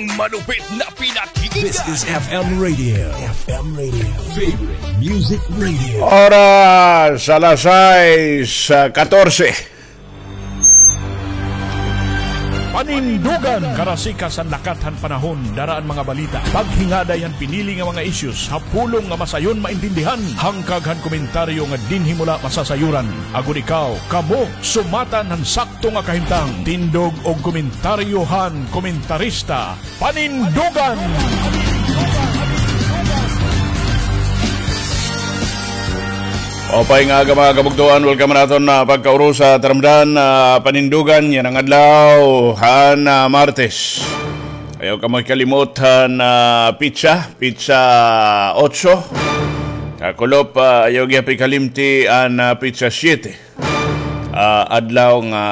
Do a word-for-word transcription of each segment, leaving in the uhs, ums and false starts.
Malupit na pinakikinggan. This is F M Radio. F M Radio. Favorite Music Radio. Oras, alas sais, ah, katorse. Panindugan. Karasikas han lakat han panahon, dara an mga balita. Paghingaday han pinili nga mga issues ha pulong nga masayon maintindihan. Hangkag han komentaryo nga dinhi mo la masasayuran. Agod ikaw, kamo, sumatan han sakto nga kahimtang. Tindog og komentaryo han komentarista. Panindugan! Maupay nga aga, mga kabugtoan, welcome naton na pagkaurusa, taramdan, ah, Panindugan yana nga adlaw han, ah, Martes. Ayaw kamo hikalimot han, ah, pitsa, pitsa otso. Kakulop, ah, ayaw gihap hikalimti an, ah, pitsa siyete. Ah, adlaw nga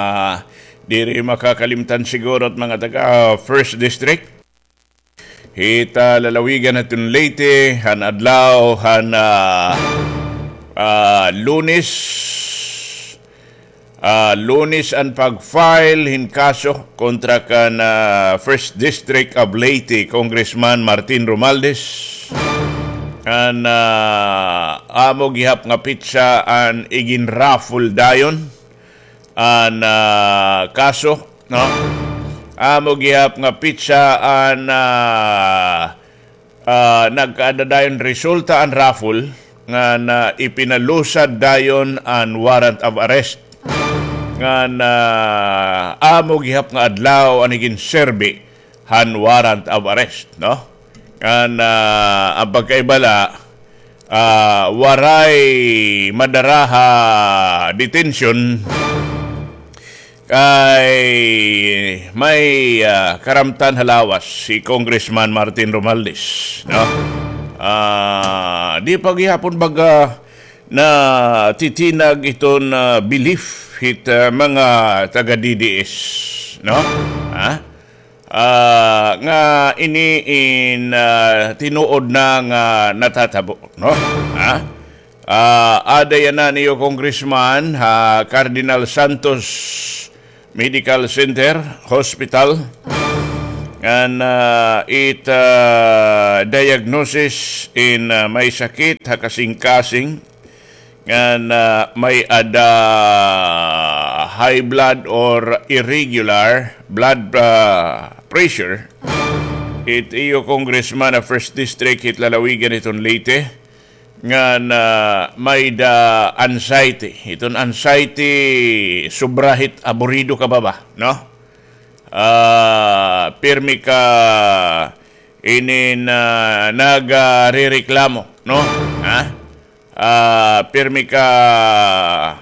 diri makakalimtan siguro it mga taga, ah, First District. Hit, ah, lalawigan naton Leyte, han adlaw han, ah, ah, Lunes, ah, Lunes an pag-file hin kaso kontra kan, ah, First District of Leyte, Congressman Martin Romualdez. An, ah, amo gihap nga pitsa an igin-raffle dayon an, ah, kaso, no? Amo gihap nga pitsa an, ah, ah, nagkaada dayon resulta an raffle ngan ipinalusad dayon an warrant of arrest. Ngan, ah, amo gihap nga adlaw an iginserbi han warrant of arrest, no? Ngan, ah, an pagkaiba la, ah, waray madara ha detention kay may, ah, karamtan ha lawas hi Congressman Martin Romualdez, no? Ah, di pa gihapon baga natitinag iton, ah, belief hit, ah, mga taga D D S, no? Ha? Ah, nga ini in, ah, tinuod na nga natatabo, no? Ha? Ah, ada yana niyo, Congressman, ha Cardinal Santos Medical Center, Hospital. Ngan, ah, it, ah, diagnosis in, ah, may sakit ha kasingkasing ngan, ah, may-ada high blood or irregular blood, ah, pressure. It iyo, Congressman, ha First District, hit lalawigan hiton Leyte, ngan, ah, may-ada anxiety. Iton anxiety, sobra hit aburido ka ba, no? Ah, pirmi ka inin, ah, nagarereklamo, no? Ha? Ah, pirmi ka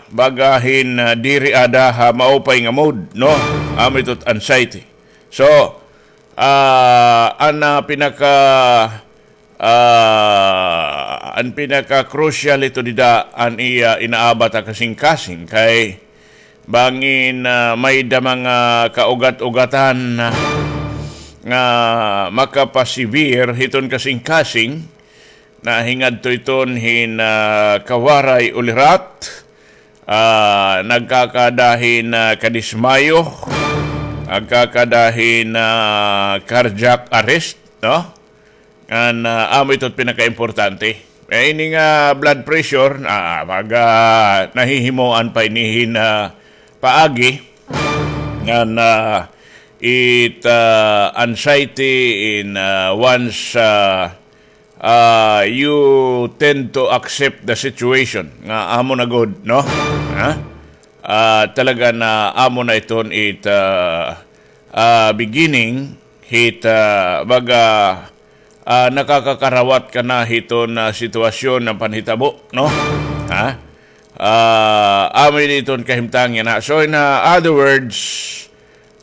baga hin, ah, diri ada ha maupay nga mood, no? Amo ito it anxiety. So, ah, an, ah, pinaka, ah, an pinaka-crucial ito dida an iya inaabat ha kasingkasing kay bangin, ah, may-ada mga kaugat-ugatan, ah, nga makapa-severe hiton kasingkasing, nahingadto iton hin, ah, kawaray ulirat, ah, nagkakada hin, ah, kadismayo, nagkakada hin, ah, cardiac arrest, no? Ngan, ah, amo ito it pinakaimportante. Eh, ini nga blood pressure, ah, baga nahihimoan pa ini hin, ah, paagi. Ngan, ah, it, ah, anxiety in, ah, once, ah, ah, you tend to accept the situation. Nga amo na gud, no? Ha? Ah, talaga na amo na iton it, ah, ah, beginning hit, ah, baga, ah, nakakakarawat ka na hiton, ah, sitwasyon nga panhitabo, no? Ha? Ah, amo ini iton kahimtang yana. So, in, ah, other words,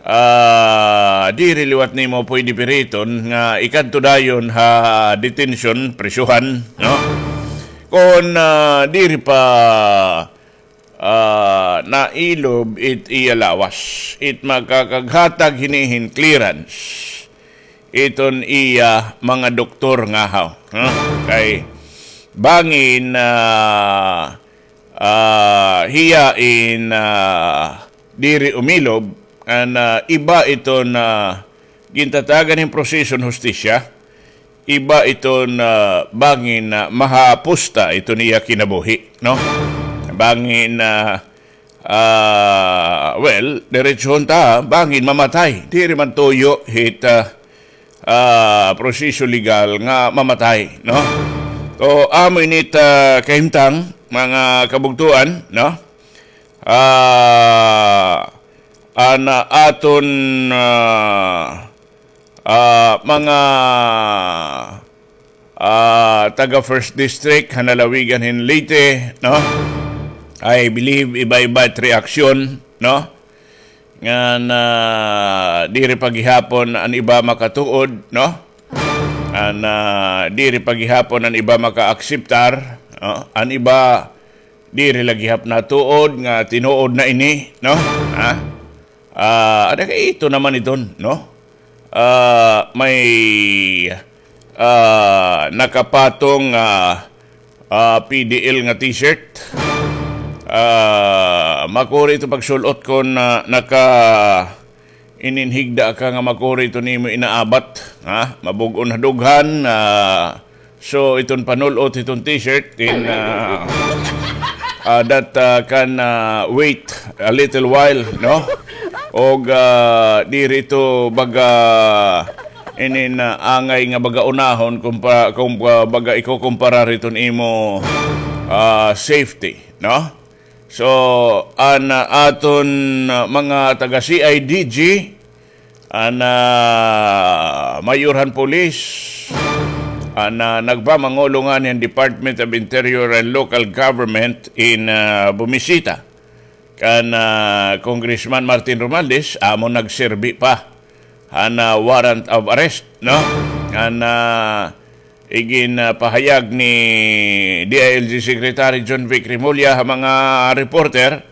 ah, diri liwat nimo pwede piriton nga ikadto dayon ha detention, prisohan, no? Kon, ah, diri pa ah, nailob it iya lawas. It makakaghatag hini hin clearance iton iya mga doktor ngahaw, ha? Kay bangin, ah, ah, hiya in, ah, diri umilob, an, ah, iba iton, ah, gintatagan hin proseso hin hustisya, iba iton, ah, bangin, ah, mahapusta iton iya kinabuhi, no? Bangin, ah, ah, well, diretsohon ta, bangin mamatay. Diri man tuyo hit, ah, ah, proseso legal nga mamatay, no? So, amo ini it, ah, kahimtang, mga kabugtoan, no? Ah, an, ah, aton, ah, ah, mga, ah, taga First District han lalawigan hin Leyte, no? I believe iba-iba it reaksyon, no? Ngan, ah, diri pa gihapon an iba makatuod, no? An, ah, diri pa gihapon an iba makaakseptar, no? An iba diri la gihap natuod nga tinuod na ini, no? Ha? Ah, ada kay ito naman iton, no? Ah, may, ah, nakapatong, ah, ah, P D L nga T-shirt. Ah, makuri ito pagsul-ot kon, ah, naka-, inin higda ka nga makuri ito nimo inaabat, ha? Mabug-on ha dughan, ah, so iton panul-ot iton T-shirt in, ah, ah, that, ah, can, ah, wait a little while, no? Og, ah, diri ito baga inin, ah, angay nga baga unahon kung pa-, kung, ah, baga ikukumparar iton imo, ah, safety, no? So, an, ah, aton, ah, mga taga C I D G, an, ah, mayor han pulis, an, ah, nagpamangulong han Department of Interior and Local Government in, ah, bumisita kan, ah, Congressman Martin Romualdez, amo nagserbi pa han, ah, warrant of arrest, no? An, ah, igin, ah, pahayag ni D I L G Secretary John Vic Remulla ha mga reporter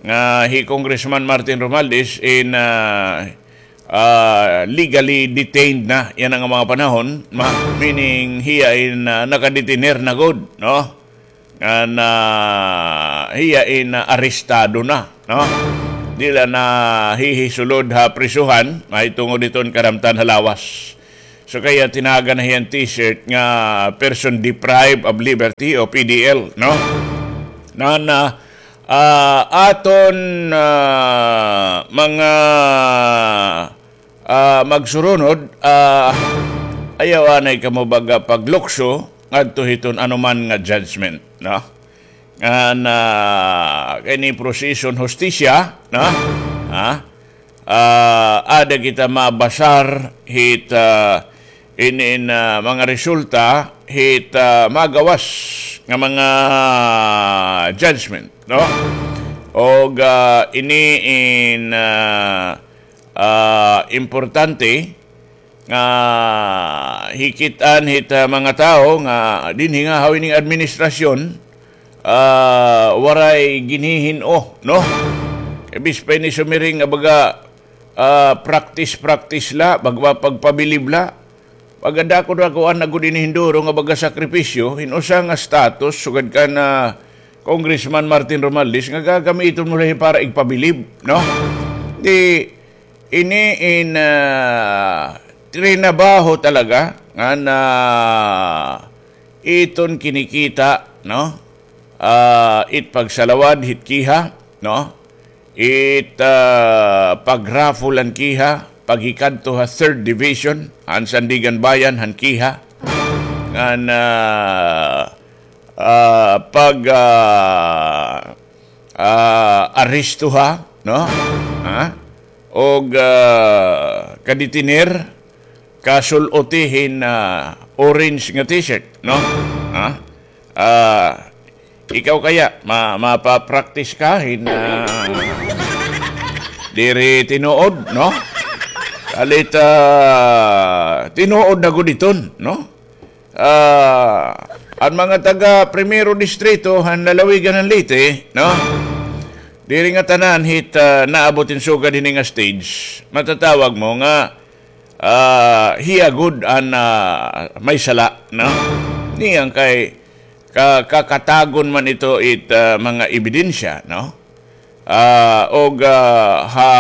nga hi Congressman Martin Romualdez in, ah, ah, legally detained na yana nga mga panahon, ma-, meaning hiya in, ah, nakadetener na gud, no? Ngan, ah, hiya in, ah, arestado na, no? Diri la nahihisulod ha prisuhan, mahitungod hiton karamtan ha lawas. So, kaya tinagan na hiya hin T-shirt nga person deprived of liberty o P D L, no? Ngan, ah, aton, ah, mga, ah, magsurunod, ah, ayaw anay kamo baga paglukso ngadto hiton anuman nga judgment, no? Ngan, ah, kay ini proseso hin hustisya, no? Ha? Ah, ada kita mabasar hit, ah, in, in, ah, mga resulta hit, ah, magawas nga mga judgment, no? Og, ah, ini in, ah, ah, importante nga hikit-an hit, ah, mga tawo nga dinhi nga ha ining administrasyon, ah, waray ginhihin-o, no? Kay bis pa ini sumiring nga baga, ah, practice-practice la, baga pagpabilib la. Pagkadako-dakoan na gud ini hin duro nga baga sakripisyo, hin usa nga status, sugad kan, ah, Congressman Martin Romualdez, nga gagamiton mo la para igpabilib, no? Di, ini in, ah, trinabaho talaga, nga na iton kinikita, no? Ah, it pagsalawad hit kiha, no? It, ah, pag-raffle han kiha, paghikadto ha third division, han Sandiganbayan, han kiha. Ngan, ah, ah, pag, ah, ah, aresto ha, no? Ha? Og, ah, kaditiner, kasul-oti hin, ah, orange nga t-shirt, no? Ha? Ah, ikaw kaya, ma-, mapa-practice ka hin, ah, diri tinuod, no? Kalit, ah, tinuod na gud iton, no? Ah, an mga taga Primero Distrito han lalawigan han Leyte, no? Diri ngatanan hit, ah, naabot hin sugad hini nga stage, matatawag mo nga, ah, hiya gud an, ah, may sala, no? Niyan kay ka-, kakatagon man ito it, ah, mga ebidensya, no? Ah, og, ah, ha,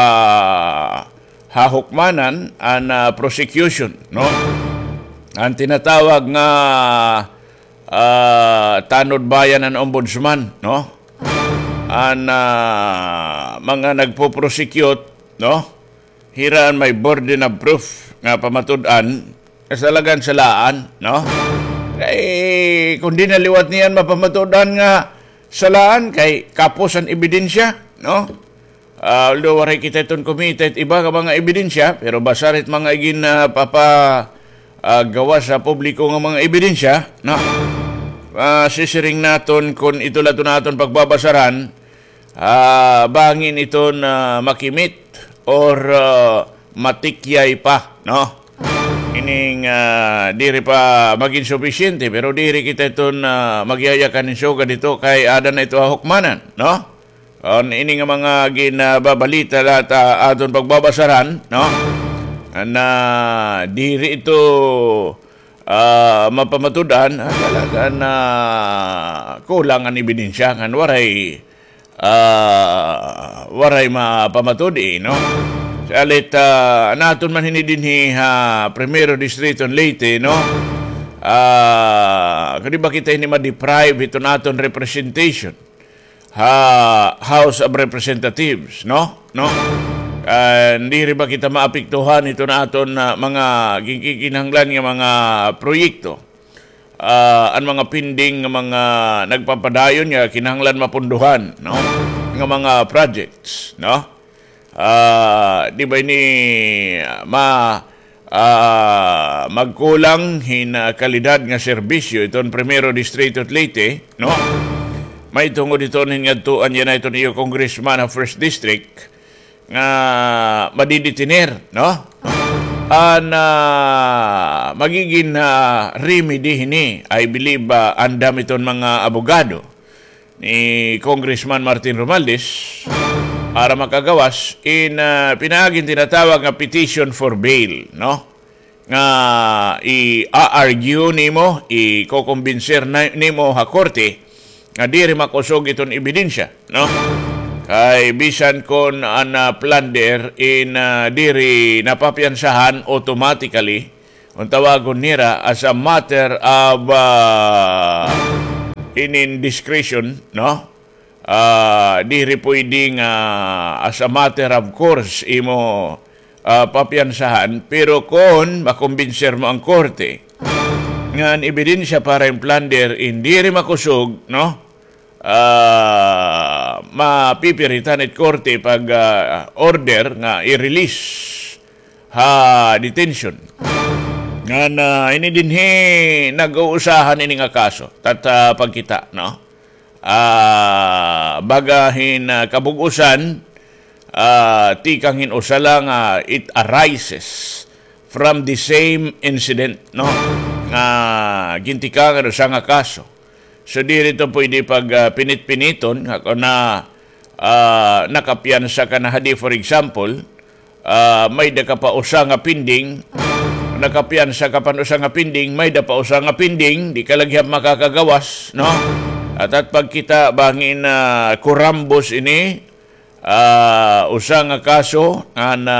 ha hukmanan an, ah, prosecution, no? An tinatawag nga, ah, tanod bayan an ombudsman, no? An, ah, mga nagpo-prosecute, no? Hira an may burden of proof nga pamatud-an, kasalagan salaan, no? Kay, kung di na liwat niyan mapamatud-an nga salaan, kay kapos an ebidensya, no? Ah, although waray kita iton kumita it iba nga mga ebidensya, pero basar it mga igin, ah, papa, ah, gawas sa publiko nga mga ebidensya, no? Ah, sisiring naton kun ito la iton aton pagbabasaran, ah, bangin iton, ah, makimit or, ah, matikyay pa, no? Ining, ah, diri pa magin supisyente, pero diri kita iton, ah, magyayakan hin sugad ito kay ada na ito ha hukmanan, no? An ini nga mga ginababalita la ta aton pagbabasaran, no? Na diri ito, ah, mapamatud-an, ah, talaga na kulang an ebidensya, ngan waray, ah, waray mapamatud-i, no? Salit, ah, an aton man hini dinhi ha Primero Distrito in Leyte, no? Ah, kadi ba kita hini ma-deprive hiton aton representation ha House of Representatives, no? No? Ah, diri ba kita maapektuhan hiton aton, ah, mga ginkikinahanglan nga mga proyekto? Ah, an mga pending nga mga nagpapadayon nga kinahanglan mapunduhan, no? Nga mga projects, no? Ah, di ba ini, ah, ma-, ah, magkulang hin, ah, kalidad nga serbisyo iton Primero Distrito it Leyte, no? Mahitungod hiton hin ngadtoan yana iton iyo congressman ha First District nga madidetiner, no? An, ah, magigin, ah, remedy hini, I believe, ah, andam iton mga abogado ni Congressman Martin Romualdez para makagawas in, ah, pinaagi hin tinatawag nga petition for bail, no? Nga i-argue nimo, ikokumbinser na, nimo ha korte nga diri makusog iton ebidensya, no? Kay bisan kon an, ah, plunder in, ah, diri napapiyansahan automatically, Kung tawagon nira as a matter of, ah, inin discretion, no? Ah, diri pwede nga as a matter of course imo, ah, papiyansahan, pero kon makumbinser mo an korte nga an ebidensya para in plunder in diri makusog, no? Ah, mapipiritan it korte pag, ah, order nga i-release ha detention. Ngan, ah, ini dinhi nag-uusahan ini nga kaso. Tat, ah, pagkita, no? Ah, baga hin, ah, kabug-osan, ah, tikang hin usa la nga it arises from the same incident, no? Nga gintikangan usa nga kaso. So, diri ito pwede pag, ah, pinit-piniton nga kon na, ah, nakapiyansa ka na hadi, for example, ah, may-ada ka pa usa nga pending, nakapiyansa ka pa usa nga pending, may-ada pa usa nga pending, di ka la gihap makakagawas, no? At, at pagkita bangin, ah, kurambos ini, ah, usa nga kaso nga na,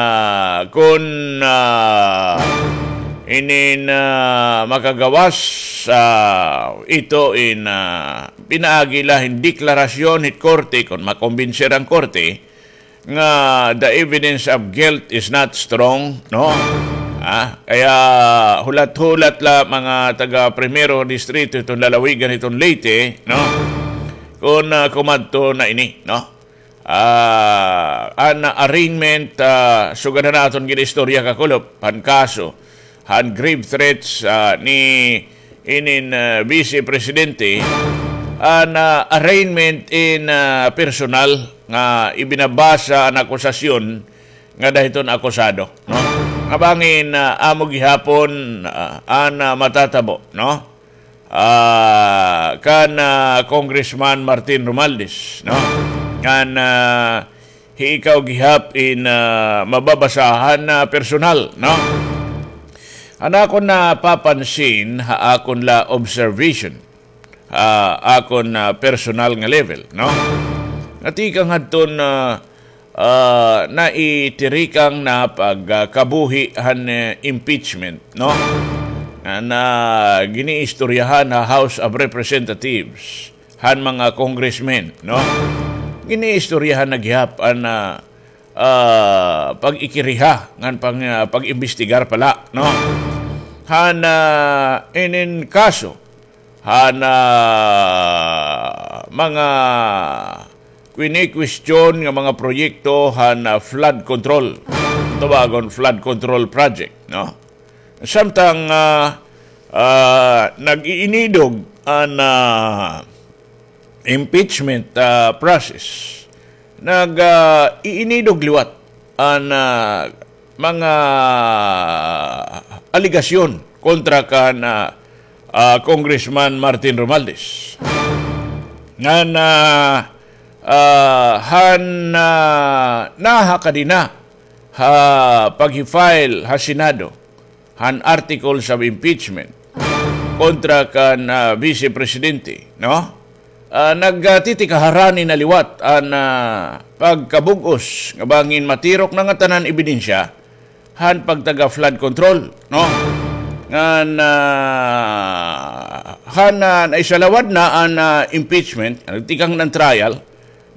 kon, ah, inin, ah, makagawas, ah, ito in, ah, pinaagi la hin deklarasyon hit korte, kon makumbinser an korte nga the evidence of guilt is not strong, no? Ah, kaya hulat-hulat la mga taga Primero Distrito iton lalawigan iton Leyte, no? Kon, ah, kumadto na ini, no? Ah, an arraignment, ah, sugad han aton gin-istorya kakulop, han kaso, han grave threats, ah, ni inin, ah, Vice Presidente, an, ah, arraignment in, ah, personal nga ibinabasa an akusasyon ngada hiton akusado, no? Nga bangin, ah, amo gihapon, ah, an, ah, matatabo, no? Ah, kan, ah, Congressman Martin Romualdez, no? Ngan, ah, hi ikaw gihap in, ah, mababasahan na personal, no? An akon napapansin ha akon la observation, ha akon, ah, personal nga level, no? Nga tikang hadton, ah, ah, naitirikang na pagkabuhi han, eh, impeachment, no? Nga na giniistoryahan ha House of Representatives, han mga congressmen, no? Giniistoryahan na gihap an, ah, ah, pag-ikiriha, ngan pang-, ah, pag-imbestigar pala, no? Han, ah, inin kaso, han, ah, mga kwini-kwestiyon nga mga proyekto han, ah, flood control. Tawagon flood control project, no? Samtang, ah, ah, nag-iinidog an, ah, impeachment, ah, process, nag, ah, iinidog liwat an, ah, mga alegasyon kontra kan, ah, ah, Congressman Martin Romualdez. Ngan, ah, ah, han, ah, naha kadina ha pag-file ha Senado han articles of impeachment kontra kan, ah, Vice Presidente, no? Ah, nagtitikaharani na liwat an, ah, pagkabug-os nga bangin matirok na nga tanan ebidensya han pagtaga flood control, no? Ngan, ah, han, ah, naisalawad na an, ah, impeachment, nagtikang na an trial,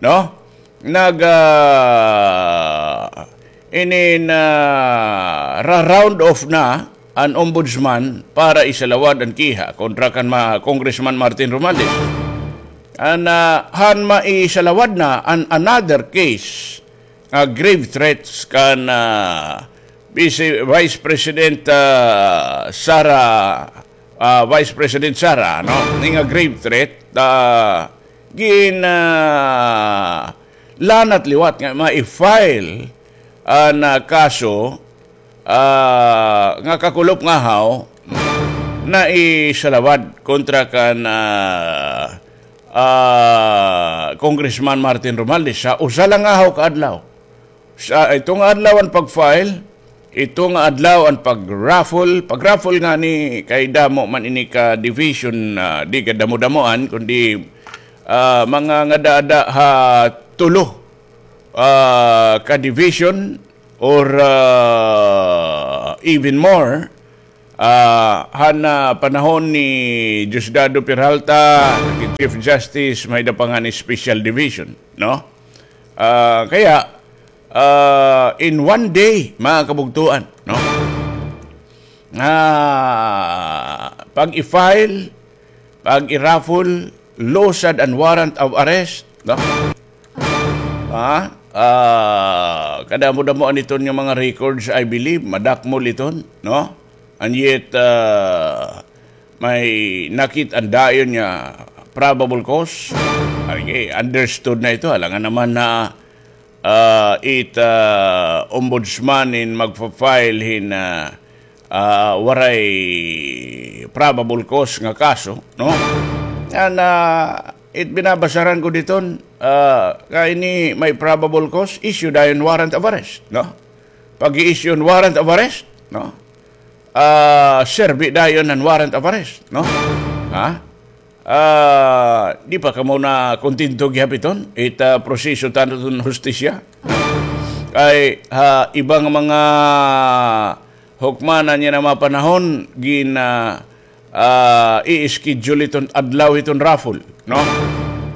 no? Nag, ah, inin, ah, ra-round off na an ombudsman para isalawad an kiha kontra kan ma-, Congressman Martin Romualdez. An, ah, han maisalawad na an another case, ah, grave threats kan, ah, Vice, Vice President, ah, Sara, ah, Vice President Sara, no? Ini nga grave threat, ah, gin, ah, lanat liwat nga ma-file an, ah, kaso, ah, nga kakulop ngahaw naisalawad kontra kan, ah, ah, Congressman Martin Romualdez ha usa la ngahaw ka adlaw. Sa ito nga adlaw an pag-file, ito nga adlaw an pag-raffle. Pag-raffle ngani kay damo man ini ka division, ah, di kadamo-damoan, kundi, ah, mga ngada-ada ha tulo, ah, ka division or, ah, even more. Ah, han, ah, panahon ni Diosdado Peralta, naging Chief Justice, may-ada pa ngani special division, no? Ah, kaya, ah, in one day, mga kabugtoan, no? Ah, pag-i-file, pag-i-raffle, lusad an warrant of arrest, no? Ha? Ah, kadamo-damoan iton nga mga records, I believe, madakmol iton, no? And yet, ah, may nakit-an dayon nga probable cause. Ay, understood na ito. Alangan naman na, ah, it, ah, ombudsman in magfa-file hin, ah, ah, waray probable cause nga kaso, no? An, ah, it binabasaran ko diton, ah, kay ini may probable cause, issue dayon warrant of arrest, no? Pag-i-issue warrant of arrest, no? Ah, serbi dayon an warrant of arrest, no? Ha? Ah, di pa kamo nakontento gihap iton it, ah, proseso ta iton hustisya? Kay, ha, iba nga mga hukmanan yana mga panahon, gin, ah, ah, i-schedule iton adlaw iton raffle, no?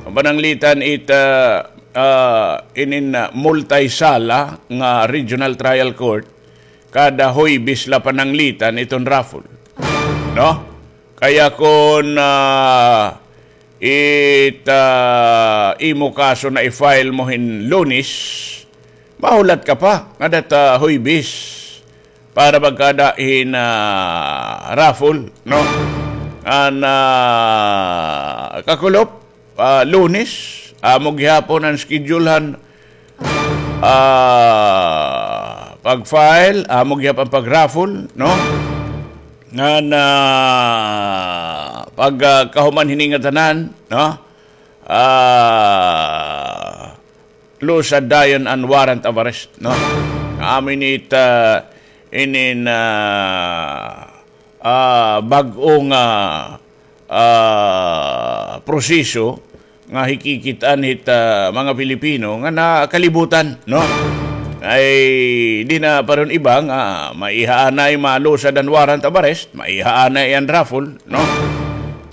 Pananglitan it, ah, ah, inin, ah, multi-sala nga regional trial court, kada Huwebes la pananglitan iton raffle, no? Kaya kon, ah, it, ah, imo kaso na-i-file mo hin Lunes, mahulat ka pa ngada ta Huwebes para magkada hin, ah, raffle, no? An, ah, kakulop, ah, Lunes, amo gihapon an schedule han, ah, pag-file, amo gihapon an pag-raffle, no? Ngan, ah, pag, ah, kahuman hini nga tanan, no? Ah, lusad dayon an warrant of arrest, no? Amo ini it, ah, inin, ah, ah, bag-o nga, ah, proseso nga hikikit-an hit, ah, mga Pilipino nga nakalibutan, no? Ay, di na paron iba nga maiha anay malusad an warrant of arrest, maiha anay an raffle, no?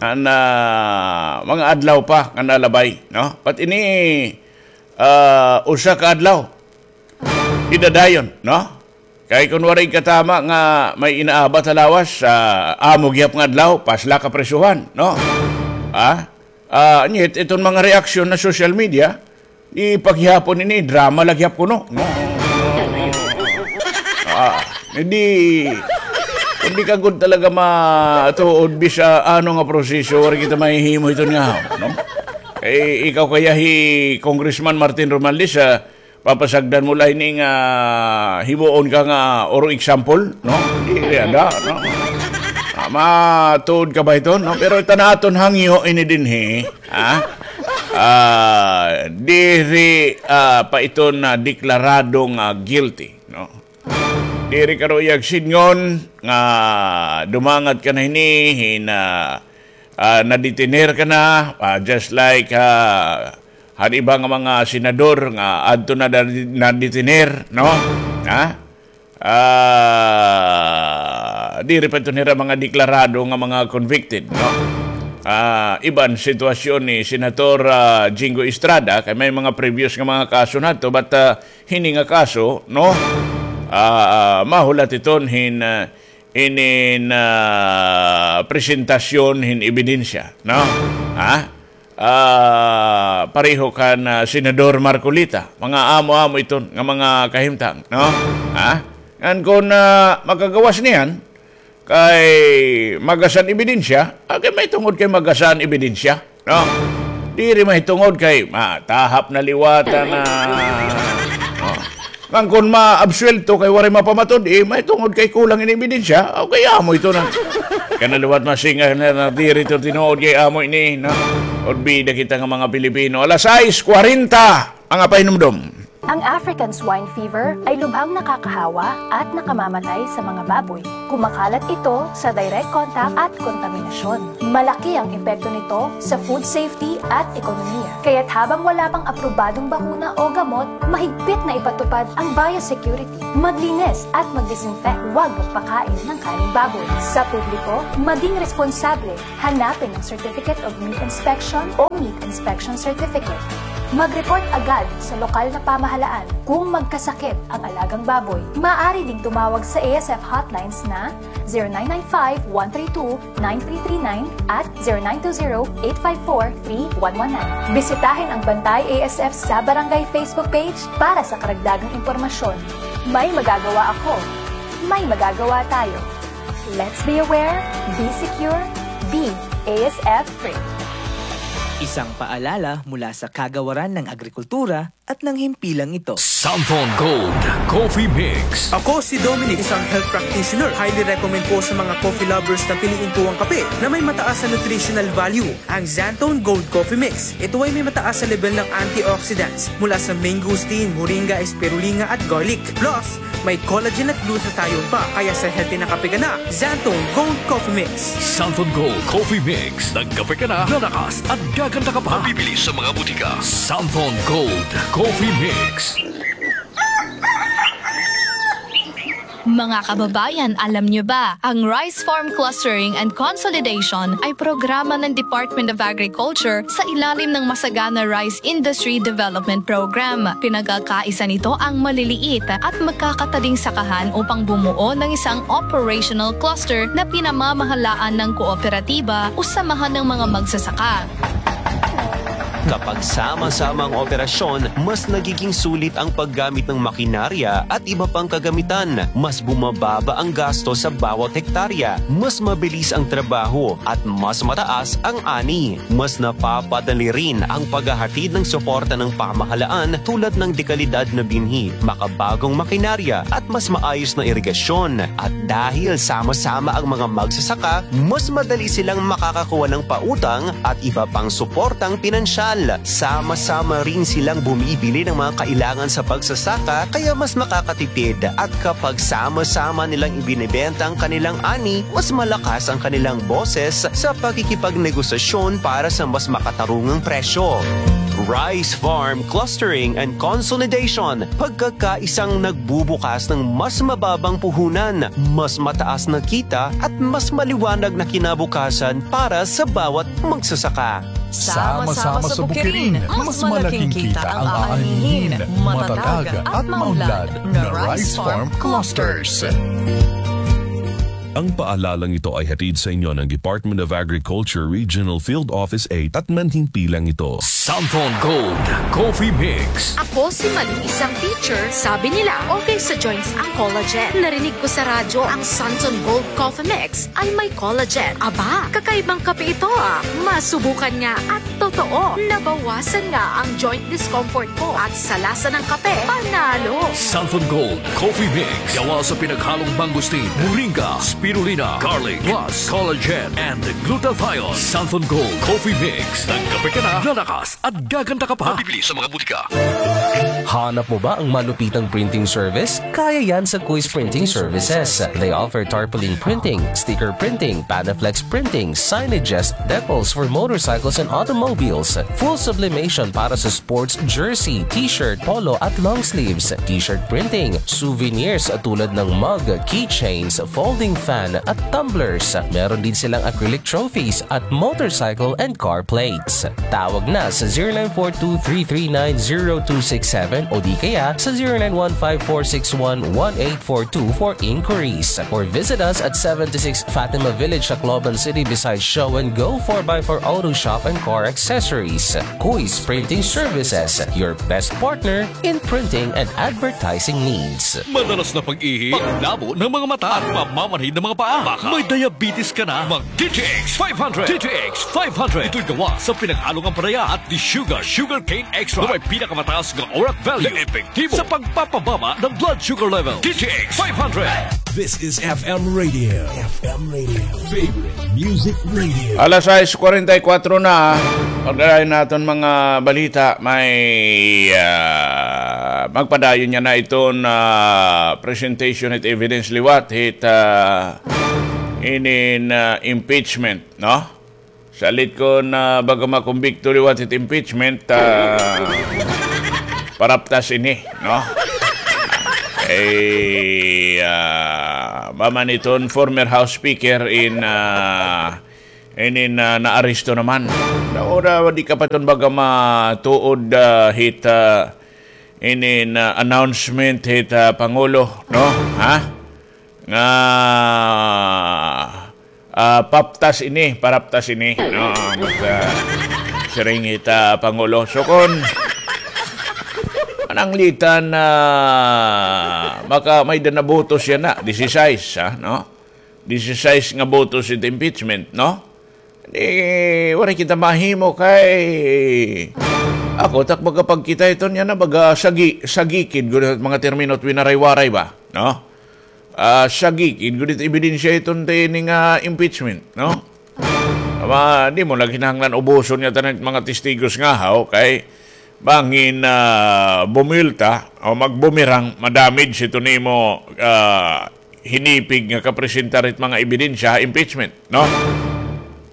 An, ah, mga adlaw pa nga nalabay, no? Pat ini, ah, usa ka adlaw. Idadayon, no? Kay kun waray katama nga may inaabat ha lawas, ah, amo gihap nga adlaw, pasla ka prisuhan, no? Ah? Ah, nyet, iton mga reaksyon ha social media, di pa gihapon ini, drama la gihap kuno, no? Ah, hindi, hindi ka gud talaga matuod bisa ano nga proseso, waray kita mahihimo iton nga, no? Kay ikaw kaya hi Congressman Martin Romualdez, ah, papasagdan mo la ini nga himuon ka nga oro example, no? Diri ada, no? Ah, matuod ka ba ito, no? Pero ita na aton hangyo ini dinhi, ha? Ah, diri, ah, pa ito na deklarado nga guilty, no? Diri ka ruya sidngon nga dumangat ka na hini, hin, ah, ah, naditener ka na, ah, just like, ah, han iba nga mga senador nga adto na, na, naditener, no? Ha? Ah, diri pa ito nira mga deklarado nga mga convicted, no? Ah, iban sitwasyon ni Senator, ah, Jingo Estrada, kay may mga previous nga mga kaso na to, but, ah, hini nga kaso, no? Ah, ah, mahulat iton hin, ah, inin, ah, presentasyon hin ebidensya, no? Ha? Ah, pareho kan, ah, Senador Marcoleta, mga amo-amo iton nga mga kahimtang, no? Ha? Ngan kun, ah, makagawas niyan, kay magasan ebidensya, ah, kay mahitungod kay magasan ebidensya, no? Diri mahitungod kay matahap na liwata na, no? Ngan kun maabsuwelto kay waray mapamatud-i, mahitungod kay kulang ini ebidensya, ah, kay amo ito na. Kay na liwat masinga na, na diri ito tinuod kay amo ini, no? Olbida kita nga mga Pilipino. Alas sais kwarenta ang apahinumdom. Ang African swine fever ay lubhang nakakahawa at nakamamatay sa mga baboy. Kumakalat ito sa direct contact at kontaminasyon. Malaki ang epekto nito sa food safety at ekonomiya. Kaya't habang wala pang aprobadong bakuna o gamot, mahigpit na ipatupad ang biosecurity. Maglinis at mag-disinfect. Huwag magpakain ng karneng baboy. Sa publiko, maging responsable. Hanapin ang Certificate of Meat Inspection o Meat Inspection Certificate. Mag-report agad sa lokal na pamahalaan kung magkasakit ang alagang baboy. Maaari ding tumawag sa A S F hotlines na zero nine nine five, one three two, nine three three nine at zero nine two zero, eight five four, three one one nine. Bisitahin ang Bantay A S F sa Barangay Facebook page para sa karagdagang impormasyon. May magagawa ako. May magagawa tayo. Let's be aware, be secure, be A S F free. Isang paalala mula sa Kagawaran ng Agrikultura at ng Himpilang ito. Santhon Gold Coffee Mix. Ako si Dominic, isang health practitioner. Highly recommend ko sa mga coffee lovers na piliin ko ang kape na may mataas na nutritional value, ang Xanthone Gold Coffee Mix. Ito ay may mataas na level ng antioxidants mula sa mangosteen, moringa, spirulina at garlic. Plus, may collagen at glutathione pa, kaya sa healthy na kape ka na, Xanthone Gold Coffee Mix. Santhon Gold Coffee Mix. Nagkape ka na, lalakas at gaganda ka pa. Mabibili sa mga butika. Santhon Gold Coffee Mix. Mga kababayan, alam niyo ba, ang Rice Farm Clustering and Consolidation ay programa ng Department of Agriculture sa ilalim ng Masagana Rice Industry Development Program. Pinagkakaisa nito ang maliliit at magkakatading sakahan upang bumuo ng isang operational cluster na pinamamahalaan ng kooperatiba o samahan ng mga magsasaka. Kapag sama-sama ang operasyon, mas nagiging sulit ang paggamit ng makinarya at iba pang kagamitan. Mas bumababa ang gasto sa bawat hektarya, mas mabilis ang trabaho, at mas mataas ang ani. Mas napapadali rin ang paghahatid ng suporta ng pamahalaan tulad ng dekalidad na binhi, makabagong makinarya, at mas maayos na irigasyon. At dahil sama-sama ang mga magsasaka, mas madali silang makakakuha ng pautang at iba pang suportang pinansyal. Sama-sama rin silang bumibili ng mga kailangan sa pagsasaka, kaya mas makakatipid. At kapag sama-sama nilang ibinebenta ang kanilang ani, mas malakas ang kanilang boses sa pakikipagnegosasyon para sa mas makatarungang presyo. Rice Farm Clustering and Consolidation, pagkakaisang nagbubukas ng mas mababang puhunan, mas mataas na kita at mas maliwanag na kinabukasan para sa bawat magsasaka. Sama-sama sa Bukirin, mas malaking kita ang aanihin, matatag at maunlad na Rice Farm Clusters. Ang paalalang ito ay hatid sa inyo ng Department of Agriculture Regional Field Office eight at manhimpilang ito. Santon Gold Coffee Mix. Ako si Malu, isang teacher. Sabi nila, okay sa joints ang collagen. Narinig ko sa radyo ang Santon Gold Coffee Mix ay may collagen. Aba, kakaibang kape ito ah. Masubukan nga at totoo, nabawasan nga ang joint discomfort ko at sa lasa ng kape, panalo. Santon Gold Coffee Mix. Gawa sa pinaghalong mangosteen, moringa, spirulina, garlic, plus collagen and glutathione. Santon Gold Coffee Mix. Nagkape ka na, lalakas at gaganda ka pa. Mabibili sa mga butika. Hanap mo ba ang malupitang printing service? Kaya yan sa Kuis Printing Services. They offer tarpaulin printing, sticker printing, Panaflex printing, signages, decals for motorcycles and automobiles, full sublimation para sa sports jersey, t-shirt, polo at long sleeves, t-shirt printing, souvenirs tulad ng mug, keychains, folding fan at tumblers. Meron din silang acrylic trophies at motorcycle and car plates. Tawag na sa zero nine four two three three nine zero two six seven o di kaya sa zero nine one five four six one one eight four two for inquiries. Or visit us at seventy-six Fatima Village, Tacloban City, beside Show and Go four by four Auto Shop and Car Accessories. Kuis Printing Services, your best partner in printing and advertising needs. Madalas na pag-ihi, panglabo ng mga mata, at pamamanhid ng mga paa. Baka may diabetes ka na. Mag D T X five hundred. D T X five hundred. Ito'y gawa sa pinaghalong ampalaya at desugar, sugarcane extract, na may pinakamataas nga orat value na epektibo sa pagpapababa ng blood sugar level. D T X five hundred. This is F M Radio. F M Radio. Favorite Music Radio. Alas sais kwarenta y kuwatro na. Pagdalain naton mga balita, may, ah, magpadayon niya na iton, ah, presentation hit evidence liwat hit, ah, inin, ah, impeachment, no? Salit kon baga makumbikto liwat hit impeachment, ah, paraptas ini, no? Eh, ah, maman iton former House Speaker in, ah, inin, ah, naaresto naman. Ora, di ka pa iton baga matuod, ah, hit, ah, inin, ah, announcement hit, ah, Pangulo, no? Ha? Nga, ah, paptas ini, paraptas ini. No, basta siring hit, ah, Pangulo. So, kon mananglitan na maka may da na botos yana, disisais, ha, no? Disisais nga botos hit impeachment, no? Di, waray kita mahimo kay ako, tak baga pagkita iton yana, baga sagi-, sagikid gud mga termino it winaray-waray ba, no? Ah, sagikid gud it ebidensya iton ta ini nga impeachment, no? Ama, di mo na kinahanglan ubuson nga tanan mga testigos nga haw kay bangin, ah, bumilta o magbumerang, madamage iton imo, ah, hinipig nga kapresentar it mga ebidensya ha impeachment, no?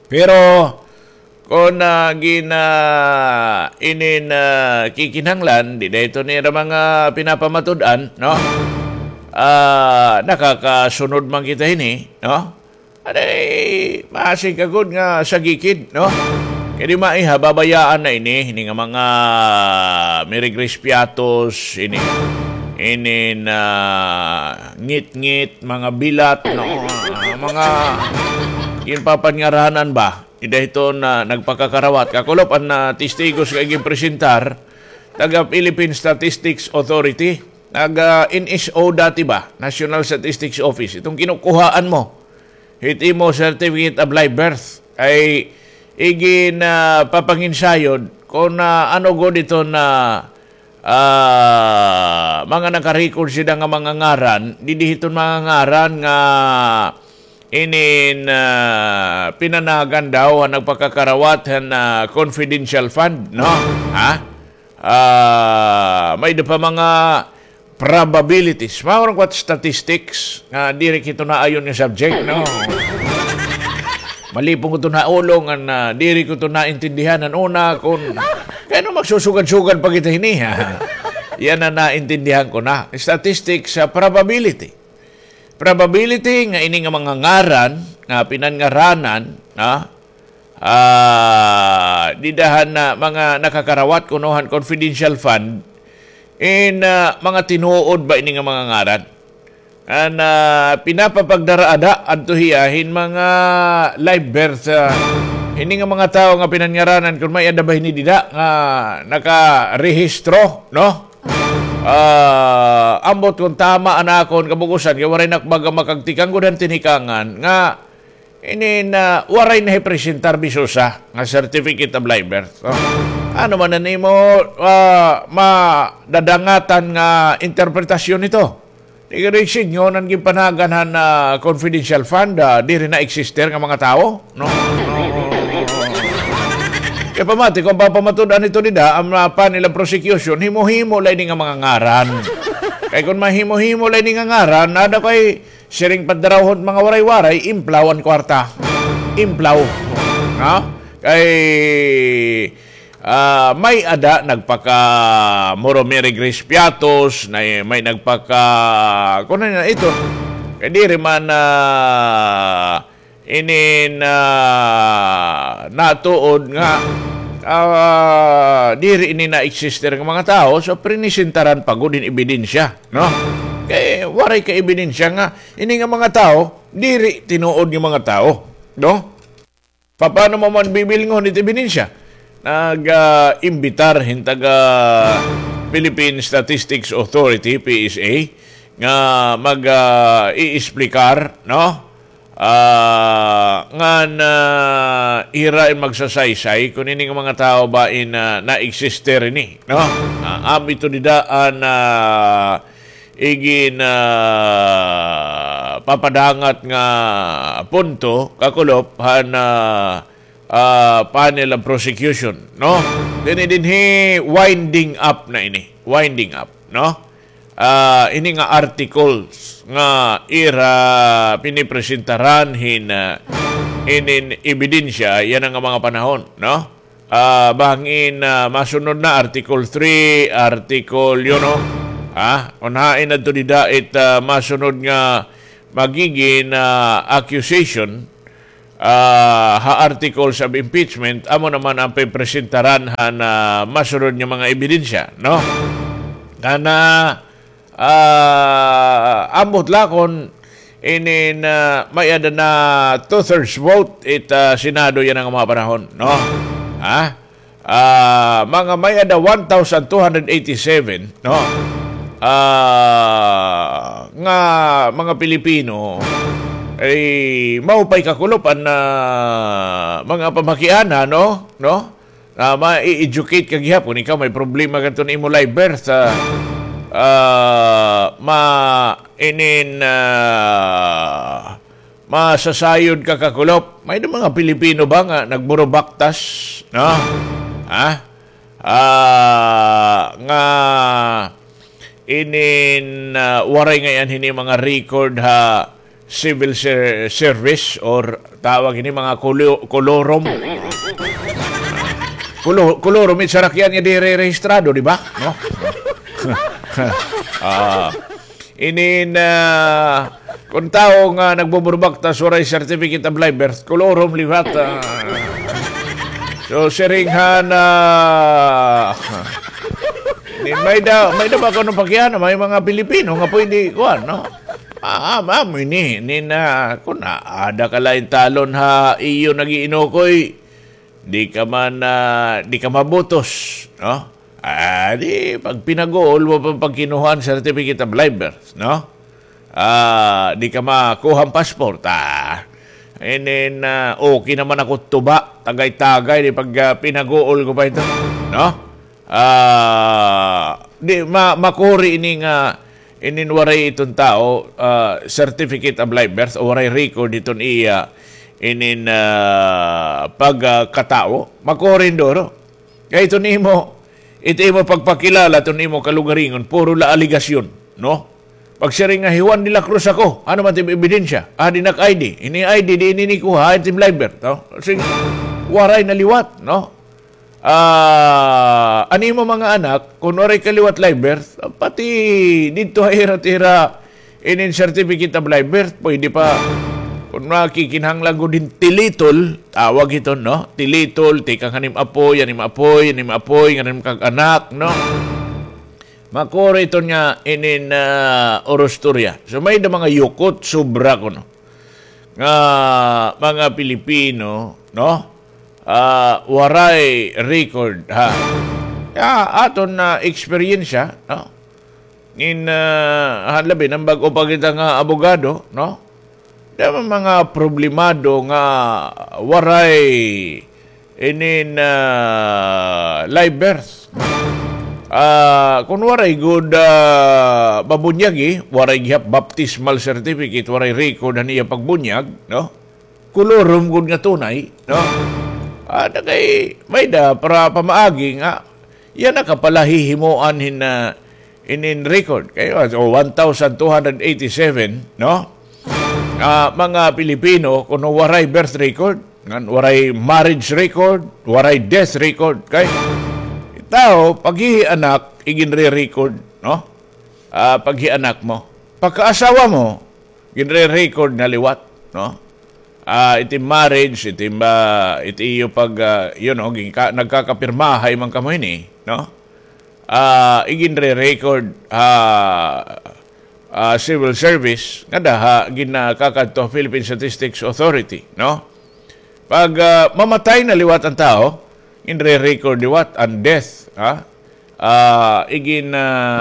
Pero kon, ah, gin-, ah, inin, ah, kikinahanglan, dida iton ira mga pinapamatud-an, no? Ah, nakakasunod man kita hini, no? Aday, maasig ka gud nga sagikid, no? Kay di maiha, babayaan na ini, ini nga mga miregrispiatos, ini, inin ngitngit, mga bilat, no? Ah, mga ginpapangaranan ba? Dida hiton nagpakakarawat. Kakulop an, ah, testigos nga iginpresentar, taga Philippine Statistics Authority, taga N S O dati ba? National Statistics Office. Iton kinukuhaan mo hit imo certificate of live birth ay igin, ah, papanginsayod kon, ah, ano gud iton, ah, ah, mga nakarecord sida nga mga ngaran, didi hiton mga ngaran nga inin, ah, pinanagan daw han nagpakakarawat han, ah, confidential fund, no? Ha? Ah, may-ada pa mga probabilities. Mao ra kuan statistics nga diri kito naayon nga subject, no? Malipong ko ito naulo ngan, ah, diri ko ito naintindihan han una kon kay ano magsusugad-sugad pa kita hini, ha? Yana naintindihan ko na. Statistics sa probability. Probability nga ini nga mga ngaran nga pinanngaranan, ha? Ah, dida han, ah, mga nakakarawat kuno han confidential fund, in, ah, mga tinuod ba ini nga mga ngaran? An, ah, pinapapagdara-ada adto hiya hin mga live birth, ah, ini nga mga tawo nga pinanngaranan kon may-ada ba hini dida nga nakarehistro, no? Ah, ambot kon tama an akon kabug-osan, kay waray na ak baga makagtikang gud han tinikangan nga inin, ah, waray nahipresentar bisan usa nga certificate of live birth. Oh. Ano man an imo, ah, madadangatan nga interpretasyon nito? Di ka rin sinyo nan ginpanagan han, ah, confidential fund, ah, diri na exister nga mga tawo, no? Kay pamati, kon papamatud-an ito dida, an, ah, panel of prosecution, himo-himo la ini nga mga ngaran. Kay kon mahimo-himo la ini nga ngaran, ada kay siring padarawhon mga waray-waray, implaw an kwarta. Implaw. Ha? Kay, ah, may-ada nagpaka Moro Mary Grace Piatos, na, may nagpaka, kuno na ito. Kay diri man, ah, inin, ah, natuod nga, ah, diri ini na-exister nga mga tawo, so prinisentaran pa gud hin ebidensya, no? Kay waray ka ebidensya nga ini nga mga tawo diri tinuod nga mga tawo, no? Paano mo man bibilngon it ebidensya? Nag, ah, imbitar hin taga Philippine Statistics Authority, P S A, nga mag, ah, iisplikar, no? Ah, ngan, ah, hira in magsasaysay kon ini nga mga tawo ba in, ah, na-existe ini, no? Ah, amo ito dida an, ah, igin, ah, papadangat nga punto, kakulop, han, ah, ah, panel of prosecution, no? Dinhi, dinhi, winding up na ini. Winding up, no? Ah, ini nga articles nga ira pinipresentaran hin, ah, inin ebidensya yana nga mga panahon, no? Ah, bangin, ah, masunod na Article three, Article, you know, ah, unhain adto dida it, ah, masunod nga magigin, ah, accusation, ah, ha articles of impeachment, amo naman an pipresentaran han, ah, masunod nga mga ebidensya, no? Kana, ah, ambot la kon inin, ah, may-ada na two-thirds vote it, ah, Senado yana nga mga panahon, no? Ha? Ah, mga may-ada one thousand two hundred eighty-seven, no? Ah, nga mga Pilipino, ay, maupay kakulop an, ah, mga pamakiana, no? No? Ah, ma-educate ka gihapon. Ikaw, may problema ka adto han imo live birth, ah, ah, ma-, inin, ah, masasayod ka kakulop. May-ada mga Pilipino ba nga nagburubaktas, no? Ha? Ah, nga inin, ah, waray ngay-an hini mga record ha civil ser-, service or tawag hini mga kulo-, kolorum. Kulo-, kolorum, it sarakyan nga diri rehistrado, di ba? No? Ah, Inin, ah, kon tawo nga nagbuburbaktas waray certificate of live birth, kolorum liwat, ah. So, siring han, ah, ni, may-ada, may-ada ba kuno pakiana, may mga Pilipino nga pwede, kuan, no? Ah, ah, amo ini, inin, ah, kon aada ka la hin talon ha iyo nag-iinukoy, di ka man, ah, di ka mabutos, no? Ah, di, pagpinaguol mo pa pagkinuha han certificate of live birth, no? Ah, di ka makuha han passport, ah. And then, ah, okay naman ako tuba, tagay-tagay, di pag, ah, pinaguol ko pa ito, no? Ah, di, ma-, makuri ini nga inin waray iton tawo, ah, certificate of live birth o waray record iton iya inin, ah, pagkatawo, makuri hin duro. Kay iton imo, ito imo pagpakilala, iton imo kalugaringon, puro la aligasyon, no? Pagsiring nga, "Hi Juan de la Cruz ako," ano man it im ebidensya? Adi nak I D. Ini I D, di ini nikuha, it im live birth, no? Sige, waray na liwat, no? Ah, an imo mga anak, kon waray ka liwat live birth, pati didto ha ira, ira, inin certificate of live birth, pwede pa. Kon makikinahanglan gud hin tilitol, tawag hiton, no? Tilitol, tikang han im apoy, an im apoy, an im apoy, ngan an im kag-anak, no? Makuri iton nga inin, ah, urustorya. So, may-ada mga yukot, sobra kuno nga mga Pilipino, no? Ah, waray record, ha? Kay aton na eksperyensya, no? In, ah, han labi na bag-o pa kita nga abogado, no? Damo mga problemado nga waray inin, ah, live birth. Ah, kon waray gud, ah, mabunyagi, waray gihap baptismal certificate, waray record han iya pagbunyag, no? Kolorum gud nga tunay, no? Ah, na kay may-ada para pamaagi nga iya na ka pala hihimuan hin, ah, inin record. Kay, ah, so, one thousand two hundred eighty-seven, no? Ah, mga Pilipino, kuno waray birth record, ngan waray marriage record, waray death record. Kay, tawo, paghihianak, iginre-record, no? Ah, paghianak mo. Pagkaasawa mo, ginre-record na liwat, no? Ah, it im marriage, it im, ah, it iyo pag, ah, you know, ginka-, nagkakapirmahay man kamo hini, no? Ah, iginre-record ha, ah, civil service, ngada ha, ginakakadto Philippine Statistics Authority, no? Pag, ah, mamatay na liwat an tawo, ginre-record liwat an death, ha? Ah, igin, ah,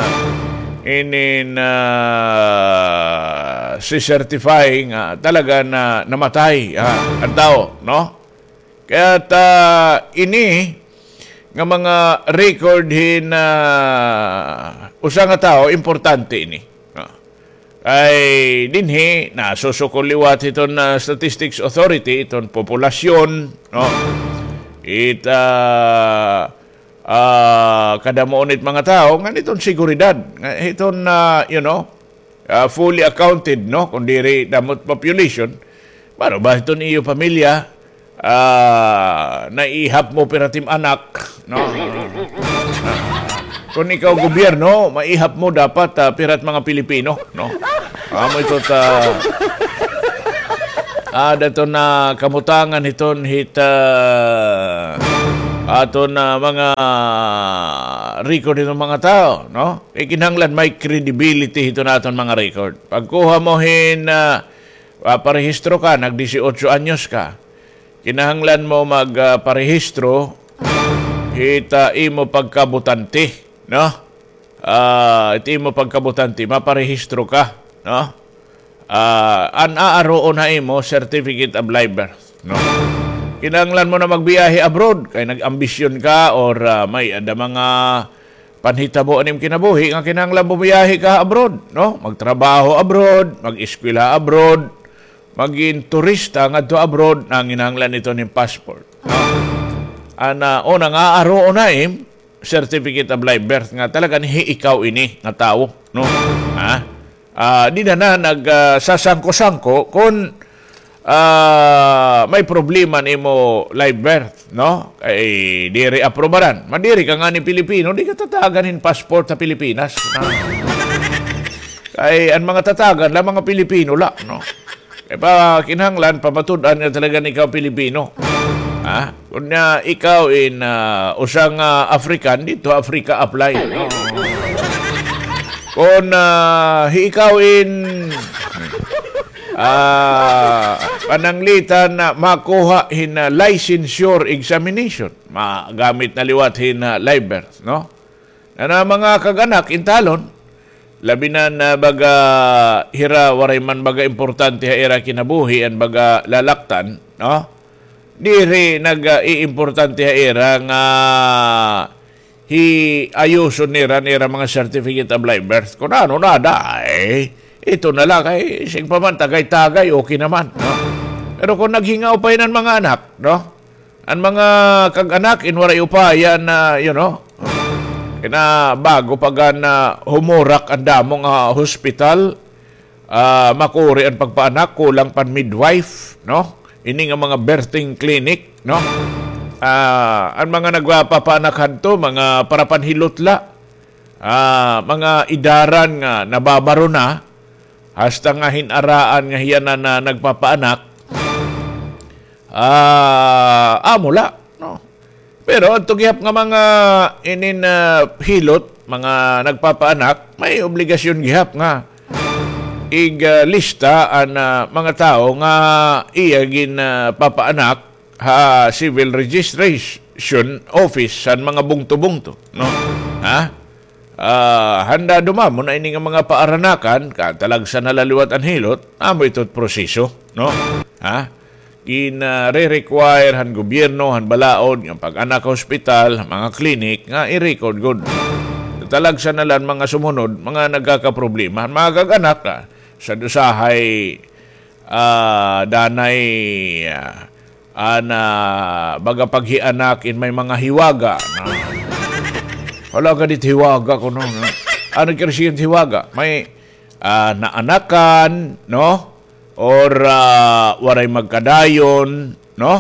inin, ah, si-certify nga talaga na namatay, ha, an tawo, no? Kay ta ini nga mga record hin, ah, usa nga tawo, importante ini. Ah. Kay dinhi, nasusukol liwat hiton, ah, Statistics Authority, iton populasyon, no? It, ah, ah, kadamuon it mga tawo, ngan iton seguridad, nga iton, ah, you know, ah, fully accounted, no? Kon diri damo it population, baro ba iton iyo pamilya, ah, naihap mo pira it im anak, no? Kon ikaw gobyerno, maihap mo dapat, ah, pira it mga Pilipino, no? Amo ito ta, ah, dato na kamutangan hiton hit, ah, aton na mga record hiton mga tawo, no? Ikinahanglan may credibility hiton aton mga record. Pagkuha mo hin, ah, ah, parehistro ka, nag-dieciocho anyos ka. Kinahanglan mo mag, ah, parehistro hit, ah, imo pagkabotante, no? Ah, it imo pagkabotante, maparehistro ka, no? Ah, an aaruon ha imo, certificate of live birth, no? Kinahanglan mo na magbiyahe abroad, kay nag-ambisyon ka or, ah, may-ada mga panhitabo han im kinabuhi nga kinahanglan bumiyahe ka abroad, no? Magtrabaho abroad, mag-eskwela abroad, magin turista ngadto abroad, nanginahanglan ito hin passport, no? An, ah, una nga aaruon ha im certificate of live birth nga talaga hi ikaw ini nga tawo, no? Ha? Ah, di na na nag, ah, sasangko-sangko kon, ah, may problema an imo live birth, no? Kay diri aprobaran. Madiri ka ngani Pilipino, di ka tatagan hin passport ha Pilipinas, no? Kay an mga tatagan la, mga Pilipino la, no? Kay pa, kinahanglan, pamatud-an nga talaga nga ikaw Pilipino. Ha? Kon, ah, ikaw in, ah, usa nga African, didto Africa apply, no? Kon, ah, hi ikaw in, ah, pananglitan na makuha hin, ah, licensure examination, magamit na liwat hin, ah, live birth, no? An mga kag-anak, intalon, labi na nga baga hira waray man baga importante ha ira kinabuhi an baga lalaktan, no? Diri nag-iimportante ha ira nga hi-ayuson nira, nira mga certificate of live birth. Kun ano na, day, ito na la kay, sige pa man, tagay-tagay, okay naman, no? Pero kun naghingaw pa ini an mga anak, no? An mga kag-anak, in waray upaya na, you know, kina bago pa gad na humurak an damo nga hospital, ah, makuri an pagpaanak, kulang pa an midwife, no? Ini nga mga birthing clinic, no? Ah, an mga nagpapaanak hadto, mga para panhilot la. Ah, mga idaran nga nababaro na, hasta nga hin-araan nga hiya na, na nagpapaanak, ah, amo la, no? Pero adto gihap nga mga inin, ah, hilot, mga nagpapaanak, may obligasyon gihap nga ig, ah, lista an, ah, mga tawo nga iya gin, ah, papaanak ha civil registration office han mga bungto-bungto, no? Ha? Ah, handa dumamo na ini nga mga paaranakan, katalagsa na la liwat an hilot, amo ito proseso, no? Ha? Ginare-require han gobyerno, han balaod, nga pag-anak ha hospital, mga clinic, nga i-record gud. Talagsa na la an mga sumunod, mga nagkakaproblema. Han mga kag-anak, ah, sa usahay, ah, danay, ah, an, ah, baga paghianak in may mga hiwaga, no? Hala ka dit hiwaga kuno, no? Ano it kay siring hiwaga? May, ah, naanakan, no? Or, ah, waray magkadayon, no?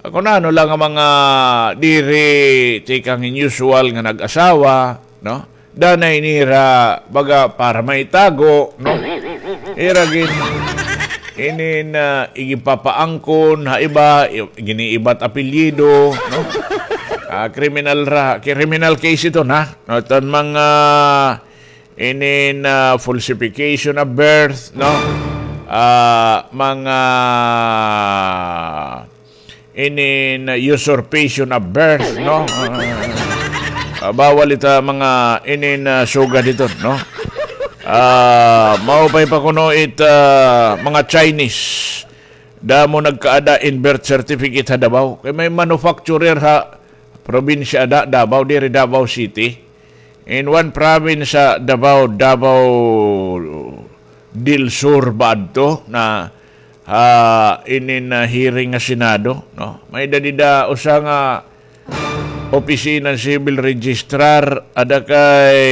Kun ano la nga mga diri tikang unusual nga nag-asawa, no? Danay nira, baga, para maitago, no? Ira gin-, inin, ah, igipapaangkon ha iba, i-, giniibat apelyido, no? Ah, kriminal ra, criminal case ito, na? No, iton mga inin, ah, falsification of birth, no? Ah, mga inin, ah, usurpation of birth, no? Ah, ah, bawal ita mga inin, ah, sugad ito, no? Ah, maupay pa kuno it, ah, mga Chinese. Damo nagkaada in birth certificate ha Davao. Kay may manufacturer ha probinsya ada, Davao, diri Davao City. In one province sa Davao, Davao del Sur ba adto na, ah, inin, ah, hearing nga Senado, no? May-ada dida usa nga opisina civil registrar, ada kay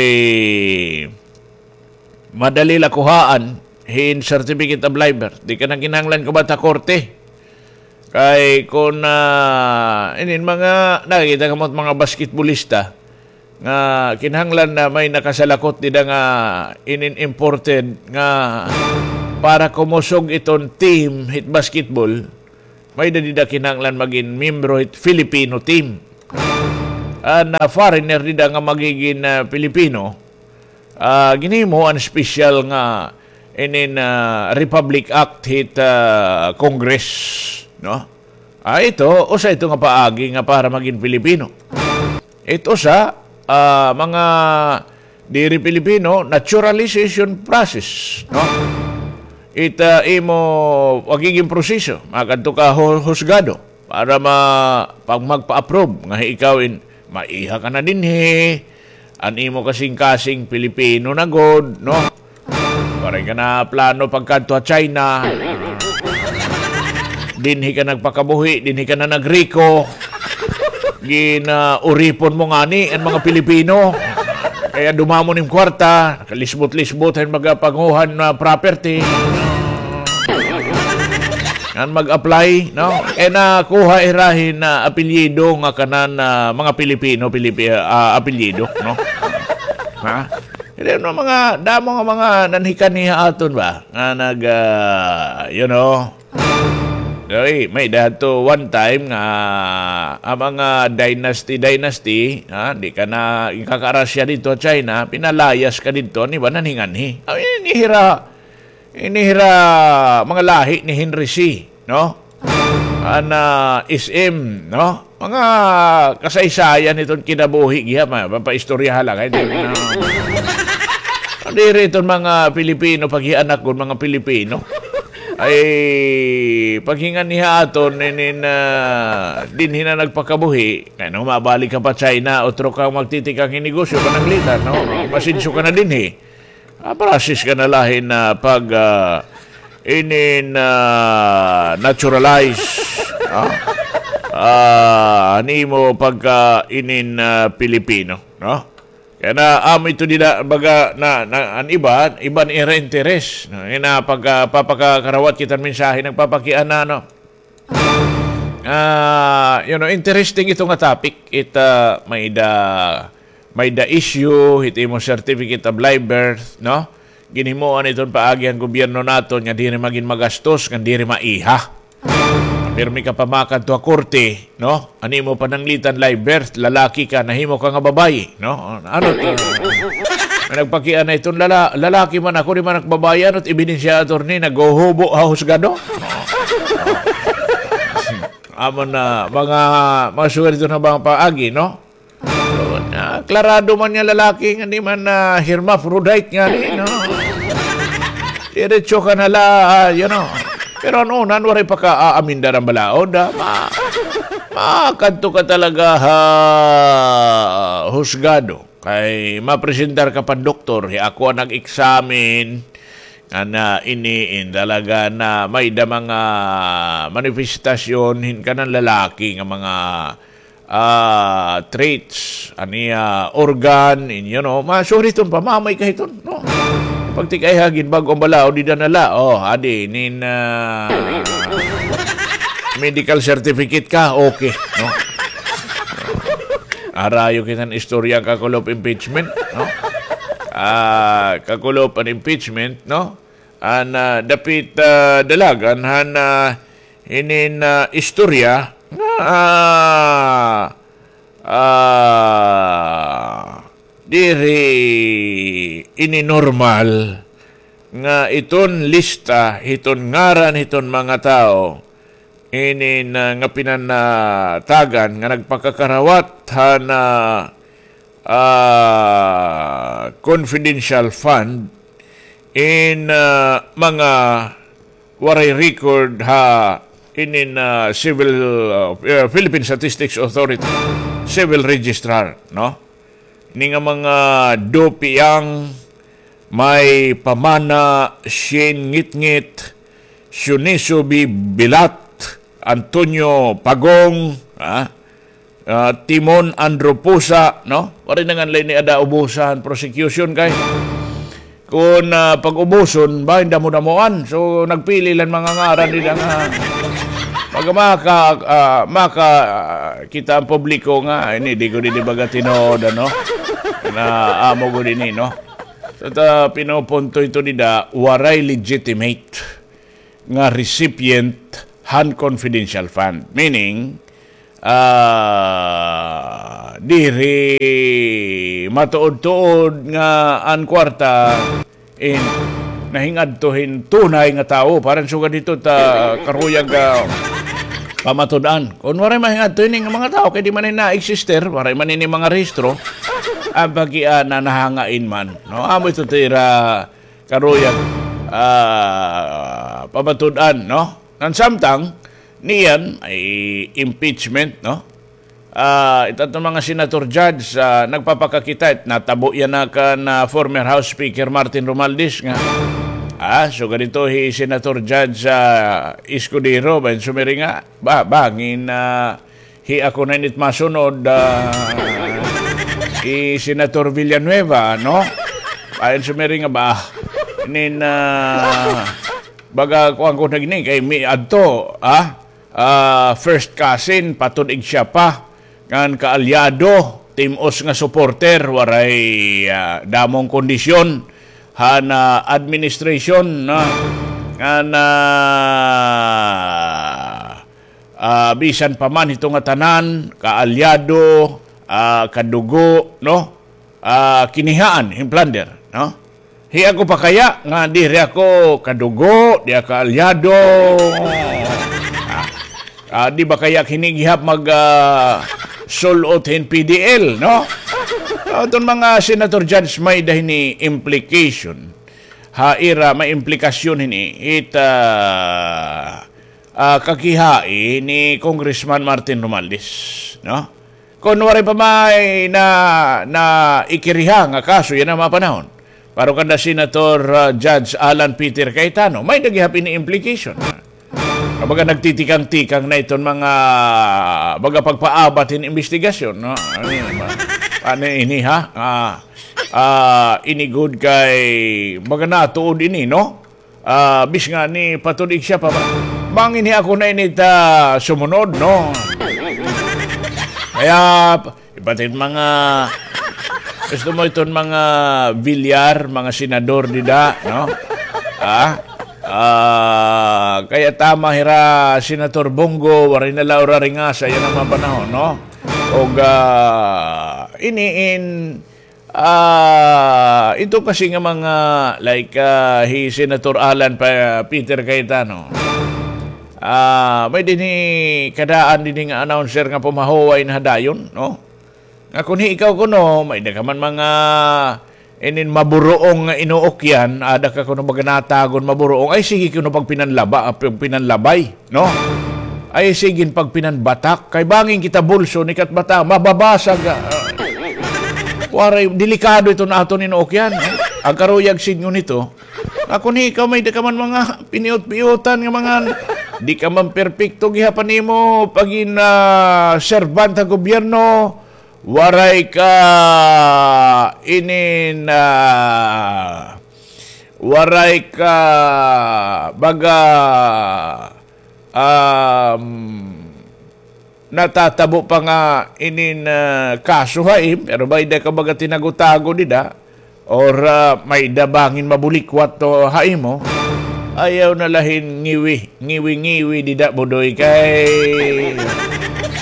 madali la kuhaan hin certificate of life birth. Di ka na kinahanglan kumat ha korte. Kay kun, ah, inin mga, nakakita kamo mga basketbolista nga kinahanglan na may nakasalakot dida nga inin imported nga para kumusog iton team hit basketball, may-ada dida kinahanglan magin miyembro hit Filipino team. An, ah, foreigner dida nga magigin, ah, Filipino, ah, ginhimo an special nga inin, ah, Republic Act hit, ah, Congress, no? Ah, ito, usa ito nga paagi nga para magin Pilipino. It usa, ah, mga diri Pilipino, naturalization process, no? It, ah, imo pagiging proseso, makadto ka hu-, husgado para ma-, pag magpa-approve nga ikaw in maiha ka na dinhi, an imo kasingkasing Pilipino na gud, no? Waray ka na plano pagkadto ha China. Dinhi ka nagpakabuhi, dinhi ka na nagriko. Ginauripon mo ngani an mga Pilipino. Kaya dumamo nim kwarta, nakalisbot-lisbot hin mga panguhan na property. Ngan mag-apply, no? Kay nakuha hira hin, ah, apelyido nga kanan, ah, mga Pilipino, Pilipi-, ah, apelyido, no? Ha? Kay ano, mga damo nga mga nanhikanhi ha aton ba? Nga nag, ah, you know, oy, may-ada hadto one time nga ang mga dynasty, dynasty, ha? Di ka na, kakaarasya didto ha China, pinalayas ka didto, an iba nanhinganhi. Ay, ini hira, ini hira mga lahi ni Henry C, no? An, ah, S M, no? Mga kasaysayan hiton kinabuhi gihap, ma-, mapaistoryahan la, kay di na. Diri iton mga Pilipino, paghianak kon mga Pilipino. Ay, paghingan niya aton, inin, ah, dinhi na nagpakabuhi, kay no, mabalik ka pa China, otro kang magtitikang hin negosyo, pananglitan, no? Masensyo ka na dinhi. Ah, process ka na la hin, ah, pag, ah, inin, ah, naturalize, no? Ah, nimo pagka inin, ah, Pilipino, no? Kay na, amo ito dida, baga, na, na, an iba, iba an ira interes, no? Ina pagka, papakakarawat kita hin mensahe, nagpapakiana, no? Ah, you know, interesting ito nga topic. It, ah, may da, may da issue, it imo certificate of live birth, no? Ginhimoan iton paagi han gobyerno naton nga diri magin magastos, ngan diri maiha. Pirmi ka pa makadto ha korte, no? An imo pananglitan live birth, lalaki ka, nahimo ka nga babayi, no? Ano to? May nagpakiana iton lala-, lalaki man ako, di man ak babayi, ano it ebidensya, attorney, naghuhubo ha husgado? Amo na, mga, mga suwerte na ba ang paagi, no? So, na, klarado man nga lalaki nga di man, ah, hermaphrodite nga ni, no? Diretso ka na la, ah, you know. Pero ano, nan, waray pa ka aamindar an balaod, ah. Ma-, makadto ka talaga ha husgado. Kay mapresentar ka pa doktor, hi ako an nag-examine, nga na ini in talaga na may da mga manifestasyon hin kanan lalaki nga mga, ah, traits, an iya organ, in, you know, masuriton pa, mamay ka hiton, no? Pagtikay ha ginbag-o an balaod, dida na la, oh, adi, nin, ah, medical certificate ka, okay, no? Arayo kita hin istorya han kakulop impeachment, no? Ah, kakulop an impeachment, no? An, ah, dapit, ah, dalagan han, ah, inin, ah, istorya nga, ah, ah, diri ini normal nga iton lista, iton ngaran, iton mga tawo, inin, ah, nga pinanatagan nga nagpakakarawat han, ah, ah, confidential fund in, ah, mga waray record ha inin, ah, civil, ah, eh, Philippine Statistics Authority, civil registrar, no? Ini nga mga Dopiang, May Pamana, Shane Ngitngit, Shuniso B. Bilat, Antonio Pagong, ah, ah, Timon Andropusa, no? Waray na ngan la ini ada ubusan prosecution kay kon, ah, pag-ubuson, bahin damo-damoan. So, nagpili la hin mga ngaran dida nga pag maka-, ah, maka-, ah, kita an publiko nga, ini, di gud ini baga tinuod, ano? Na amo gud ini, no? So, ta, pinupunto ito dida, waray legitimate nga recipient han confidential fund. Meaning, ah, diri matuod-tuod nga an kwarta in nahingadto hin tunay nga tawo. Para sugad hito ta karuyag, ah, pamatud-an. Kon waray mahingadto ini nga mga tawo, kay di man ini na-existe, waray man ini mga rehistro, an pagkiana nahangain man. No? Amo ito ta ira karuyag, ah, pamatud-an, no? Ngan samtang, niyan, ay impeachment, no? Ah, it aton mga senator judge, ah, nagpapakakita, it natabo yana kan, ah, former House Speaker Martin Romualdez nga, ah, sugad ito hi Senator Judge, ah, Escudero, bahin sumiring nga, ba, bangin, ah, hi ako na ini it masunod, ah, hi Senator Villanueva, no? Bahin sumiring nga ba, inin, ah, baga kuan ko na gini, kay miadto, ah, ah, first cousin, patud-an siya pa, ngan kaalyado, tim-os nga supporter, waray, ah, damong kondisyon, han, ah, administration, no? Ngan, ah, ah, bisan pa man hito nga tanan, kaalyado, ah, kadugo, no? Ah, kinihaan hin plunder, no? Hi ako pa kaya nga diri ako kadugo, di ako kaalyado. Ah, ah, di ba kaya ak hini gihap mag, ah, sul-ot hin P D L, no? Aton mga senator judge, may-ada hini implication ha ira may implikasyon hini it, ah, ah, kakihain ni Congressman Martin Romualdez, no? Kon waray pa may na, naikiriha nga kaso yana mga panahon. Pero kanda Senator, ah, Judge Alan Peter Cayetano, may-ada gihap ini implication. Kumbaga nagtitikang-tikang na iton mga, baga pagpaabat hin imbestigasyon, no? Ano yun ba? Ano ini, ha? Ah, ah, ini gud kay baga natuod ini, no? Ah, bis nga ni patudig siya pa ba? Bangin hi ako na ini ta sumunod, no? Kaya, iba't mga, gusto mo iton mga Villar, mga senador dida, no? Ah, ah, kaya tama hira Senator Bong Go, waray na la ura ringasa yana mga panahon, no? Og, ah, ini in, ah, ito kasi nga mga, like, ah, hi Senator Alan pa, Peter Cayetano. Ah, may dinhi kadaan dinhi nga announcer nga pumahuway na ha dayon, no? Nga kun hi ikaw kuno, may-ada ka man mga inin maburuong nga inuukyan, ada ka kuno baga natagon maburuong, ay sige kuno pagpinanlaba, ah, pagpinanlabay, no? Ay sige pagpinanbatak, kay bangin kita bulso ni katbata, mababasag, ah, ah. Waray, delikado iton aton inuukyan, eh. Agkaruyag sidngon nito, nga kun hi ikaw may-ada ka man mga piniot-piotan nga mga, di ka man perpekto gihap an imo pagin, ah, serbante ha gobyerno, waray ka inin, ah, waray ka baga, um, natatabo pa nga inin, ah, kaso ha im, pero may-ada ka baga tinago-tago dida, or, ah, may-ada bangin mabulikwat to ha imo, ayaw na la hin ngiwi, ngiwi-ngiwi dida, Budoy, kay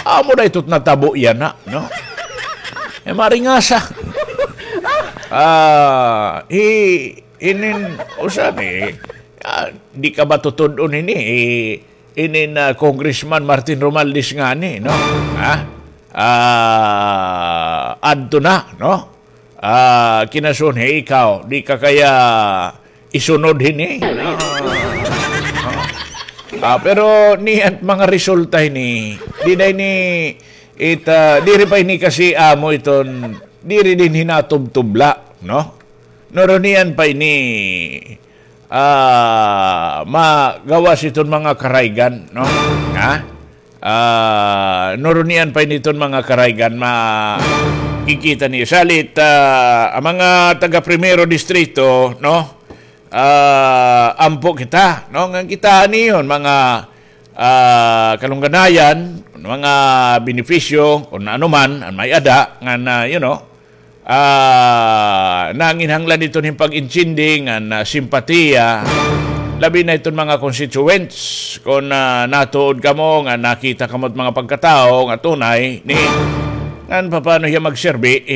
amo na ito't natabo yana, no? Eh, maringasa. Ah, hi, inin, usa ni, ah, di ka ba tutud-on ini, eh, inin, ah, Congressman Martin Romualdez ngani, no? Ha? Ah, adto na, no? Ah, kinasunhi ikaw, di ka kaya isunod hini. Ah, pero niyan mga resulta hini, di na ini it, ah, diri pa ini kasi amo iton, diri dinhi natubtubla, no? Nuro niyan pa ini, ah, magawas iton mga karaygan, no? Ha? Ah, nuro niyan pa ini iton mga karaygan, makikita ni salit, ah, an mga taga Primero Distrito, no? Ah, ampo kita, no? Ngan kita niyon, mga, ah, kalungganayan, mga benepisyo, kun ano man, an may-ada, ngan, ah, you know, ah, nanginhanglan iton hin pag-intindi ngan, ah, simpatiya, labi na iton mga constituents, kun, ah, natuod kamo, ngan nakita kamo it mga pagkatawo nga tunay, ni, ngan papaano hiya magserbi,